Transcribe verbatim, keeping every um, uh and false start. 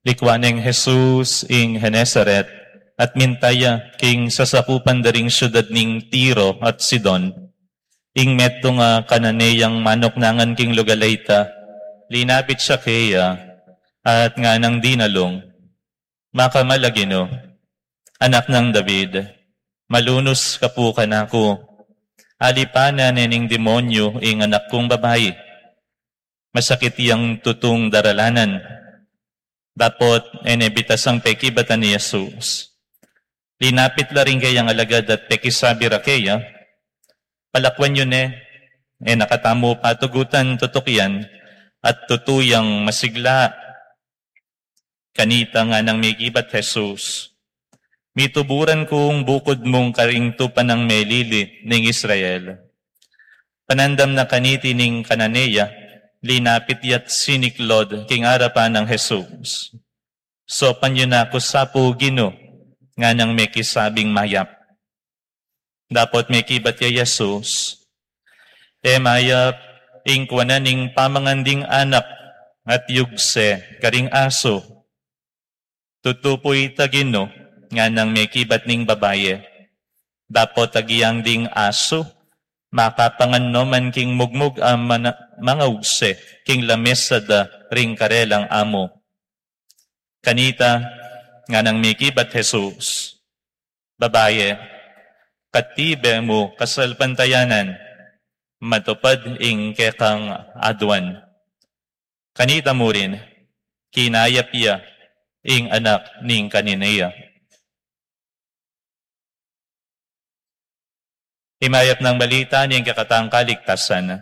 Likwan neng Jesus ing Genesaret, at minta ya king sasakupan da ring siudad ning Tiro at Sidon. Ing metung a Cananeang manuknangan king lugal a ita, linapit ya keya, at nganang dinalung, "Makamal a Ginu, Anak nang David, malunus ka pu kanaku. Alipanan ne ning demonyu ing anak kung babai. Masakit yang tutung daralanan." Dapot e ne bitasang pekibatan i Jesus. Linapit la ring kayang alagad at pekisabi ra keya, "Palakwan yu ne, e na katamu patugutan tutukian, at tutu yang masigla." Kanita nganang mekibat Jesus, "Mituburan kung bukud mung karing tupa nang melili ning Israel." Panandam na kaniti ning Cananea, linapit ya't siniklod king arapan nang Jesus. "Saupan yu na ku sa pu, Ginu," nganang mekisabing mayap. Dapot mekibat ya Jesus, "E mayap ing kuanan ing pamangan ding anak at yugse karing asu." "Tutu pu ita, Ginu," nganang mekibat ning babai. "Dapot agyang ding asu makapangan no man king mugmug a mana-, mangugse king lamesa da ring karelang amu." Kanita nganang mekibat Jesus, "Babai, katibe mu kasalpantayanan, matupad ing kekang aduan." Kanita murin, kinayap ya ing anak ning Cananea. Ing mayap nang balita ning kekatang kaligtasan.